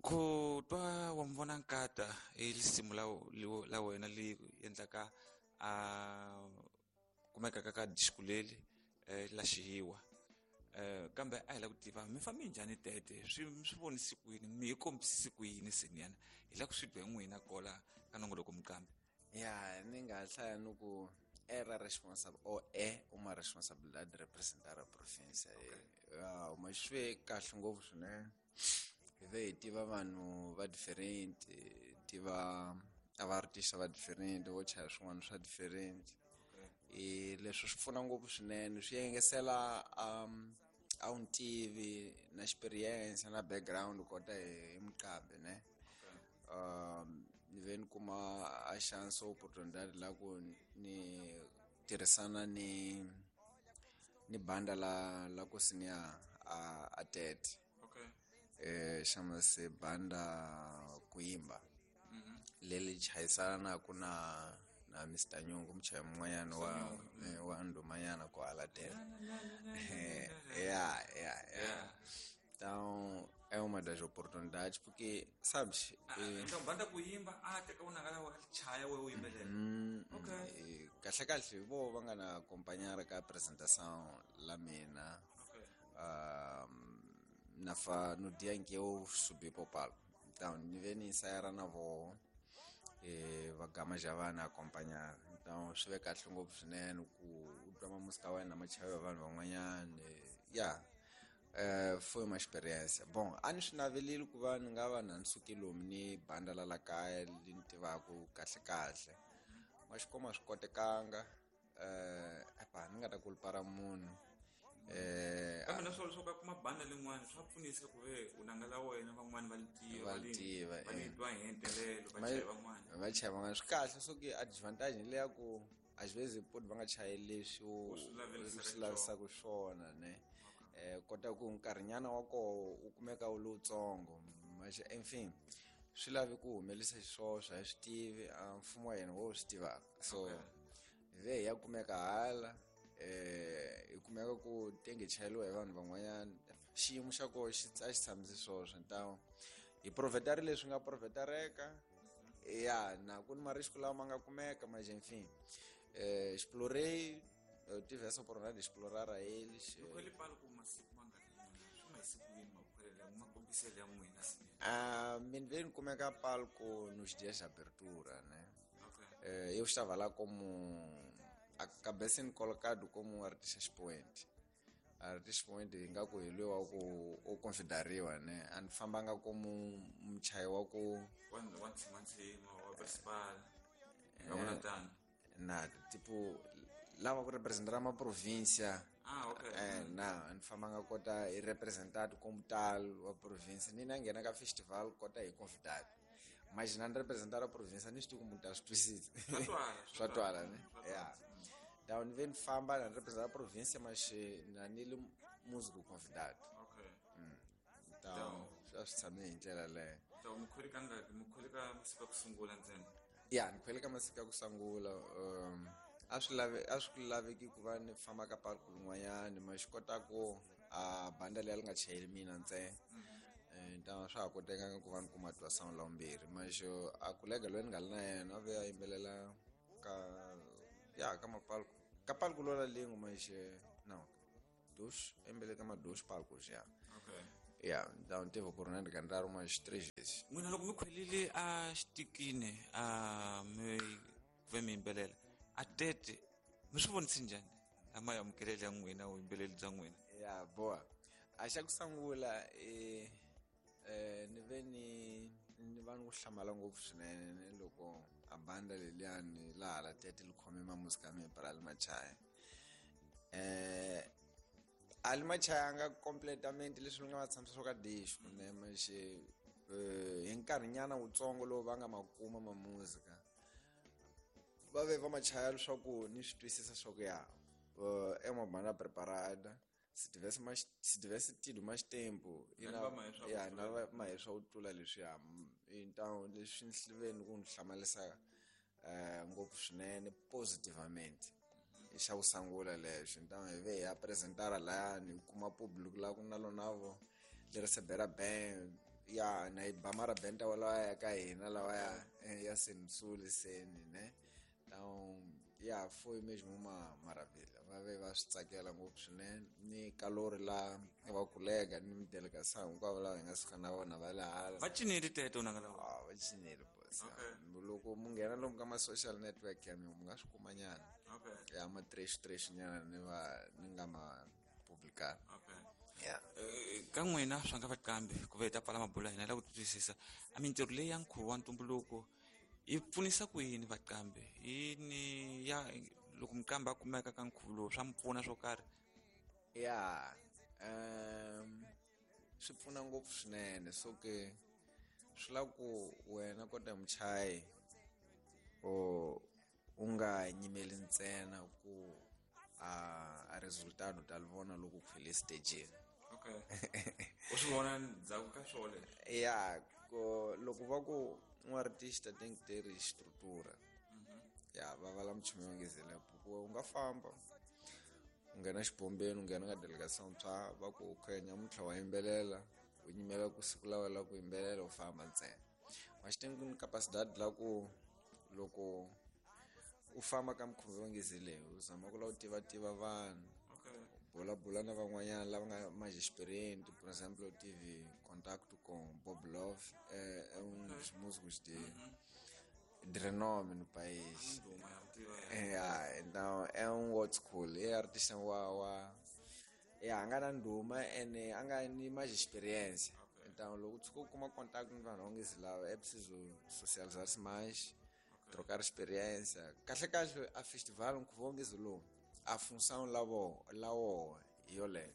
Ku twa wa mi vona nkata i lisimu la wena li endlaka a kumekaka ka disco leli la xihiwa. Kambe a hi la ku tiva mi fambe njhani tete, swi mi swi vonisi ku yini, mi hi kombisisi ku yini seniyana, hi la ku swi twa hi n'wina kola ka nongoloko muqambi. Ya, ni nga hlaya ni ku era responsable ou é uma responsabilidade de representar a província. Ya, ma swi ve kahle ngopfu swinene. Hi ve hi tiva vanhu va different, tiva a va artist va different, vo chaya swin'wana swa different. Leswi swi pfuna ngopfu swinene, swi engesela a wu ntivi na experience na background kota hi muqambi ne. Ni ve ni kuma a chance opportunity la ku ni tirhisana ni banda la ku senior a tete. Xana se banda ku yimba leli chayisana ku na Mr Nyungu, muchayi mun'wanyana wa ndhumanyana ku hala tete. Ya, ya, ya. Então é uma das oportunidades porque sabes, Então banda ku yimba a teka u nangala wa chaya we u yimbelela. Kahle kahle vo va nga na acompanhar ka apresentação la mina. Na fa no dia em que eu subi pro palco. Então ni ve ni ensaiar na vo, va gama já va na acompanhar. Então swi ve kahle ngopfu swinene ku u twa ma música wa wena ma chaviwa vanhu van'wanyana. Ya. Foi uma experiência. Bom, a ni swi navelile ku va ni nga va na ni suke lomu ni banda la la kaya li ni tivaku kahle kahle. Ma xi kuma swi kotekanga. Epa, ni nga ta kulpara munhu. Kambe na swona swo ka kuma banda lin'wana swa pfunisa ku ve u nanga la wena van'wani va li tiva, Va li tiva, va li twa hi entelelo, va chaya van'wana. Va chaya van'wana. Swi kahle swo ki advantage leya ku às vezes pode va nga chayi leswi U swi lavelisaka u swi lavisaka swona, ne? Kota ku nkarhinyana wa koho u kumeka wu lowutsongo. Mas, enfin, swi lavi ku humelisa xiswoswo, a hi swi tivi, a mfumo wa hina wo swi tivaka. So, hi ve hi ya kumeka hala, hi kumeka ku tenge chayeliwa hi vanhu van'wanyana. Xiyimo xa koho a xi tshamisi swoswo. Então, hi profetari leswi nga profetareka. Ya, na ku ni marisco lawa ma nga kumeka, mas enfin, explorei, eu tive essa oportunidade de explorar a eles. Mi khwele palco masiku mangani? Swi nga siku yini makhwele ya ma kombisele ya n'wina swinene? Mi ve ni kumeka palco nos dias de abertura, né? Eu estava lá como acabei sendo colocado como artista expoente. Artista expoente ingaku hi loyi wa ku u consideriwa, né? A ni fambanga como muchayi wa ku Wa ntshimantsima, wa principal. Nga vona tano. Na, tipo, lava ku representar uma província. Na, ni fambanga kota hi representado como tal wa província. Ni na nghena ka festival kota hi convidado. Mas na ni representar a província, ni swi tivi ku munhu ta swi twisisa. Swa twala, Swa swa twala, twala. ne? Swa Ya. twala. Então, ni ve ni famba na ni representar a província, mas na ni li músico convidado. Então, swa swi tshame hi ndlela leyo. Então, mi khwele ka ngaki? Mi khwele ka masiku ya ku sungula ntsena? Ya, ni khwele ka masiku ya ku sungula. A swi lave, a swi laveki ku va ni famba ka palco rin'wanyana, ma swi kota ku a banda leyi li nga chayeli mina ntsena. Então swa ha kotekanga ku va ni kuma twa sound la vumbirhi. Mas a kolega loyi ni nga ri na yena a ve a yimbelela ka, ya, ka mapalco. Ka palco lola lin'we, mas não, dos, a yimbelele ka ma dos palcos, ya. Ya, então ni tive oportunidade de cantar umas 3 vezes. N'wina loko mi khwelile a xitikini, a mi ve mi yimbelela a tete, mi swi vonise njhani a ma amukeleli ya n'wina vuyimbeleri bya n'wina? Ya, boa. A xa ku sungula, ni ve ni va ni ku hlamala ngopfu swinene ni loko a banda leliyani laha la tete li khome ma música ya mina para li machaya. A li machayanga completamente leswi ni nga va tshamisa swo ka disco, ne, mas, hi nkarhinyana wutsongo lowu va nga ma kuma ma música, va ve va machaya leswaku ni swi twisisa swa ku ya, é uma banda preparada. Se tivesse mais, se tivesse tido mais tempo, e Na na, va mahe swa ku ya, na tlula. va mahe swa ku tlula leswiya. Então, leswi ni ve ni ku ni hlamarisa, ngopfu swinene positivamente. I xa ku sungula lexo. Então, hi ve hi ya apresentara layani, hi kuma public la ku na lona vo, li recebera bem. Ya na yi ba marabenta walawa ya ka hina lawa ya senisuli seni ne. Então ya foi mesmo uma maravilha. Va ve va swi tsakela ngopfu swinene ni kalori la va colega ni delegação hinkwavo lava hi nga suka na vona va le hala. Va cineli teto nanga lava. Ah, va cineli boss. Loko mu nghena lomu ka ma social network ya mina mu nga swi kuma nyana. Okay. Ya ma trash trash nyana ni va ni nga ma publicar. Okay. Yeah. Ka n'wina swa nga vakambi ku va hi ta pfala mabulo ya hina la ku twisisa a mintirho leyi ya nkhuvo wa ntumbuluko yi pfunisa ku yini vakambi yini ya loko mukambi a kumeka ka nkhuvo lowu swa mi pfuna swo karhi? Ya, swi pfuna ngopfu swinene. So ke swi lava ku wena kota muchayi o u nga nyimeli ntsena ku a resultado ta li vona loko ku file stageni. Okay. U swi vona ndzhaku ka swona leswi? Ya, ko loko va ku un artista tem que ter estrutura. Ya, va vala muchumu yo ngezela ku u nga famba u nghena xibombeni, u nghena ka delegação tshwa va ku okay nyamuntlha wa yimbelela, u nyimela ku siku la wena ku yimbelela u famba ntsena. Mas tem que capacidade la ku loko u famba ka mukhuva yo ngezele u zama ku lava u tiva-tiva vanhu. Okay. Bula-bula na van'wanyana lava nga mais experiente, por exemplo, eu tive contato com Bob Love, é um dos músicos de renome no país. É, então é um old school, é artista wa é a nga na ndhuma ene a nga ni mais experiência. Então loko u tshuka u kuma contato ni vanhu va ngezi lava, é preciso socializar-se mais, trocar experiência. Kahle kahle a festival nkhuvo wa ngezi lowu a função la woho hi yoleyo.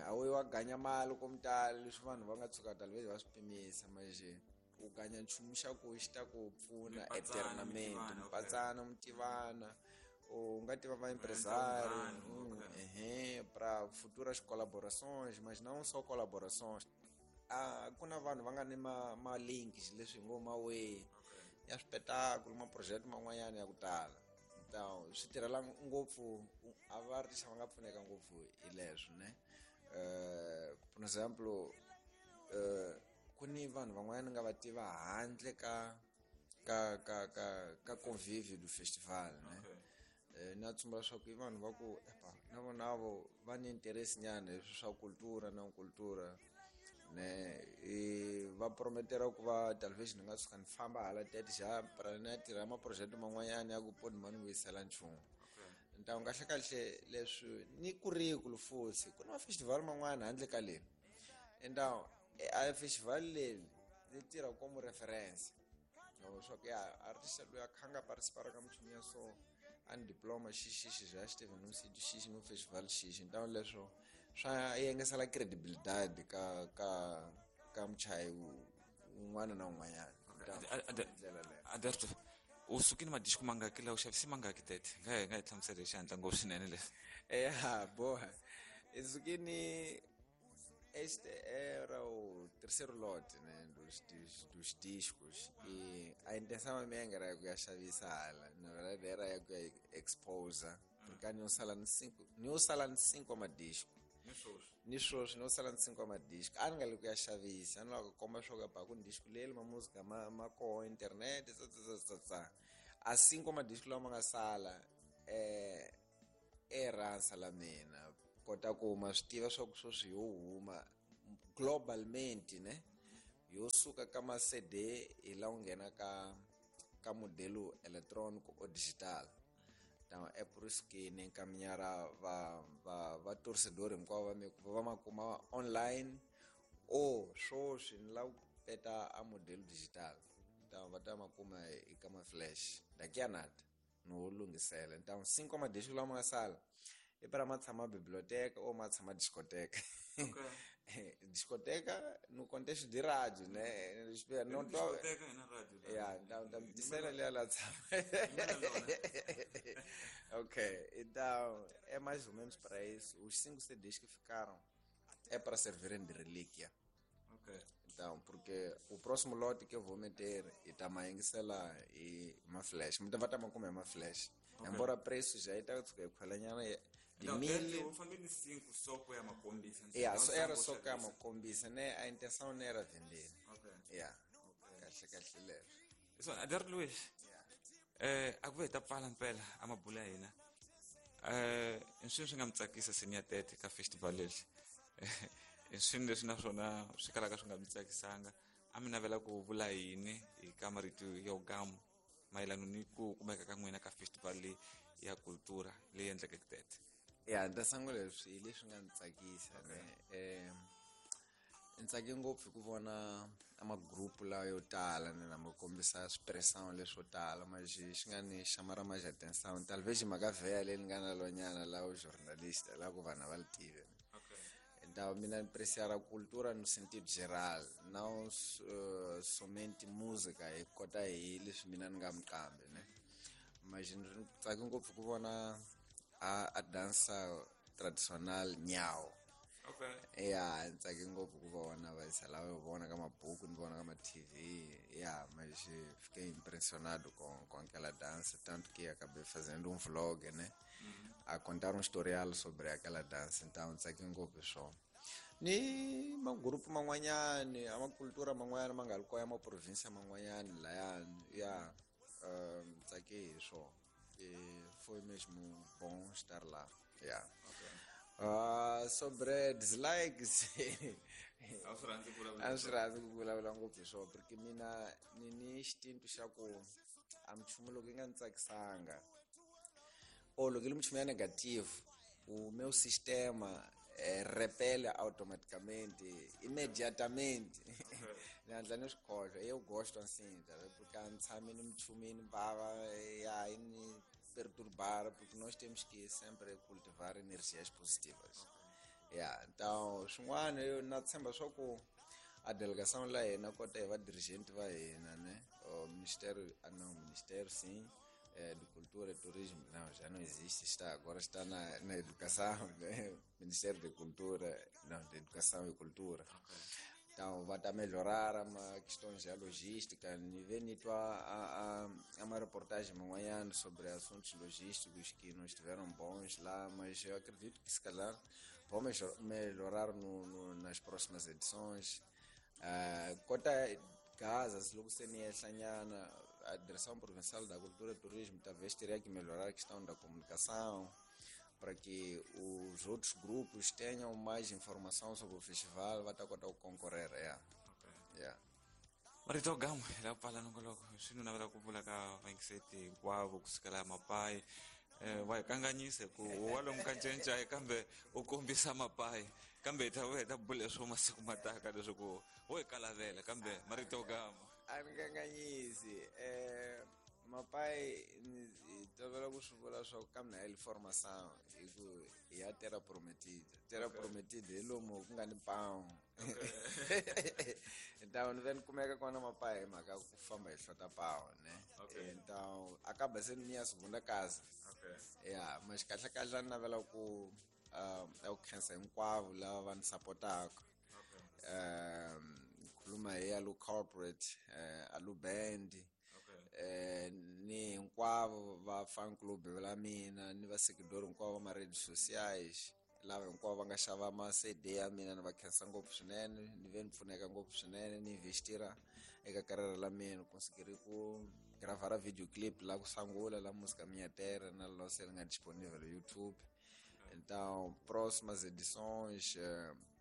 A wu yi wa ganya mali ko tala leswi vanhu va nga tshuka talvez va swi pimisa manje u ganya nchumu xa ku xi ta ku pfuna eternamente. Mipatsana mi tivana, u nga tiva va empresário, ehe, pra futuras colaborações, mas não só colaborações. A ku na vanhu va nga ni ma links leswi hi ngo ma way ya swipetakulu, ma project man'wanyana ya ku tala. Então swi tirhela ngopfu a va artista va nga pfuneka ngopfu hi leswo ne. Por exemplo, ku ni vanhu van'wanyana nga va tiva handle ka convívio do festival ne. Na tsumba leswaku i vanhu va ku epa na vona vo va ni interesse nyana hi swa cultura na cultura ne, va prometera ku va talvez ni nga tshuka ni famba hala tete xa pra ni ya tirha maproject man'wanyana ya ku poni ma ni vuyisela nchumu. Então kahle kahle leswi ni currículo futhi ku na mafestival man'wana handle ka leri. Então a festival leri ni tirha como referência. Swa ku ya artista loyi a kha nga participar ka minchumu ya so a ni diploma xixixi já esteve num sítio X num festival X. Então leswo swa yengesela credibilidade ka muchayi un'wana na un'wanyana. Ndlela leyo. Alberto, u sukile madisco mangaki la u xavisi mangaki tete? Nga hi hlamusela hi xihatla ngopfu swinene leswi. Ya, boa. I sukini este era o terceiro lote, né, dos discos, e a intenção minha era ku ya xavisa hala, na verdade era ya ku ya exposa, porque ni sala ni cinco, ni sala ni cinco madisco. Ni sweswi no sala ni cinco madisco. A ni nga le ku ya xavisa, a ni lava ku komba swo ka ku ni disco leri ma música ma koho internet tsa tsa tsa tsa. A cinco madisco lawa ma nga sala eransa la mina kota ku ma swi tiva swa ku sweswi yo huma globalmente ne, yo suka ka ma CD hi la u nghena ka modelo eletrônico ou digital. Então é por isso que nem caminhar va torcedor hinkwavo va mi va ma kuma online ou sweswi ni lava ku peta a modelo digital. Então va ta ma kuma eka ma flash daqui a nada no lunghisela. Então cinco madisco lama nga sala i para ma tshama biblioteca ou ma tshama discoteca. Okay. Discoteca no contexto de rádio, né? Não tô... Discoteca é na rádio. Yeah, então disseram ali ela tshama. Ok, então é mais ou menos para isso. Os 5 CDs que ficaram é para servirem de relíquia. Ok. Então, porque o próximo lote que eu vou meter e também, sei lá, e uma flash. Muita vai também comer uma flash. Okay. Embora preço já está, De mil. Eu falei de 5 só que é uma combisa. Yeah, so era só que é uma combisa, né? A intenção não era vender. Okay. Yeah. Kahle kahle leswo. So, Ader Luiz. Yeah. A ku ve hi ta pfala mpela a mabula ya hina. I swilo swi nga mi tsakisa senior tete ka festival lexi. I swilo leswi naswona swi kalaka swi nga mi tsakisanga. A mi navela ku vula yini hi ka marito yo gamu mayelana ni ku kumeka ka n'wina ka festival leyi ya cultura leyi endlekeke tete. Ya, ni ta sungula leswi hi leswi nga ni tsakisa ne. Ni tsake ngopfu hi ku vona a magrupu lawa yo tala ni na ma kombisa swipressão leswo tala mas xi nga ni xamara mais atenção talvez mhaka vheya leyi ni nga na lonyana la u jornalista la ku vanhu a va li tivi. Então mina ni apreciar a cultura no sentido geral, não somente música hi kota hi leswi mina ni nga muqambi ne. Mas ni tsake ngopfu ku vona a dança tradicional nyao. Okay. Yeah, ni tsake ngopfu ku vona va lava yo vona ka mabuku ni vona ka ma TV. Yeah, mas fiquei impressionado com aquela dança, tanto que acabei fazendo um vlog, né? A contar um historial sobre aquela dança. Então tsake ngopfu swona. Ni magrupu man'wanyani a makultura man'wanyana ma nga ri kona ya maprovinsia man'wanyani layani. Yeah, tsake hi swona. Foi mesmo bom estar lá. Yeah. Okay. Sobre dislikes. A swi rhandzi ku vulavula. A swi rhandzi ku vulavula ngopfu hi swona porque mina ni ni xintu xa ku a minchumu loko yi nga ni tsakisanga ou loko yi ri minchumu ya negative, o meu sistema repele automaticamente, imediatamente. Ni hatla ni swi khohlwa. Eu gosto assim, tá vendo? Porque a ni tshami ni minchumu yi ni vava, ya yi ni perturbar, porque nós temos que sempre cultivar energias positivas. Yeah, então swin'wana yo na tshemba swa ku a delegação la hina kota hi va dirigente va hina, né? O ministério, ah, não, ministério sim, de Cultura e Turismo, não, já não existe, está, agora está na educação, né? Ministério de Cultura, não, de Educação e Cultura. Então, vai tá melhorar uma questões de logística, ni vê ni tua a uma reportagem manhã sobre assuntos logísticos que não estiveram bons lá, mas eu acredito que se calhar vão melhorar nas próximas edições. Quanto a Gaza, se logo se ni ehlanyana, a Direção Provincial da Cultura e Turismo talvez teria que melhorar a questão da comunicação para que os outros grupos tenham mais informação sobre o festival, vai estar com concorrer. Yeah. Okay. Yeah. Marito gamu la pala nongoloko swi navela ku vula ka vayingiseti hinkwavo kusukela mapayi wa hi kanganyise ku wa lomu ka ncencai kambe u kombisa mapayi kambe hi ta vuya hi ta bula swo masiku mataka leswaku wo hi kalavela kambe marito gamu a ni kanganyisi. Mapai hi tolovela ku swi vula swa ku ka mina hi formação hi ku hi ya terra prometida. Terra prometida hi lomu ku nga ni pão. Então ni ve ni kumeka kona mapai hi mhaka ku famba hi hlota pão, ne? Então acaba sendo minha segunda casa. Yeah, mas kahle kahle ni navela ku ku khensa hinkwavo lava va ni sapotaka. Khuluma hi Alu Corporate, Alu Band, ni hinkwavo va fan club la mina, ni va seguidor hinkwavo va ma-redes sociais lava hinkwavo va nga xava ma CD ya mina, ni va khensa ngopfu swinene, ni ve ni pfuneka ngopfu swinene, ni investira eka karere la mina, conseguir ku gravar video clip la ku sungula la música Minha Terra na lo se nga disponível no YouTube. Então, próximas edições,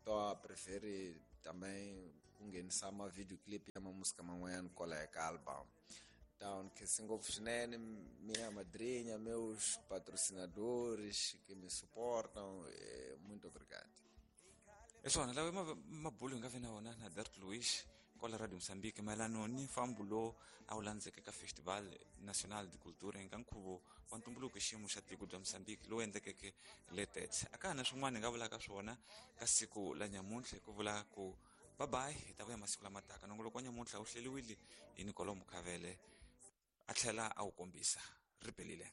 tô a preferir também ku nghenisa ma videoclip ya ma música man'wanyana kwalaya ka album. Então, khensi ngopfu swinene minha madrinha, meus patrocinadores que me suportam, muito obrigado. Hi swona lawa mabulu hi nga vi na wona na Dert Luiz kwala Radio Mozambique mayelana ni mfambo lowu a wu landzeke ka Festival Nacional de Cultura eka nkhuvo wa ntumbuluko xiyimo xa tiko bya Mozambique lowu endlekeke le Tete. A ka ha na swin'wana hi nga vulaka swona ka siku la nyamuntlha ku vula ku bye bye, hi ta vuya masiku lama taka. Nongoloko wa nyamuntlha wu hleriwile hi Nicolo Mukhavele a tlhela a wu kombisa. Ri pelile.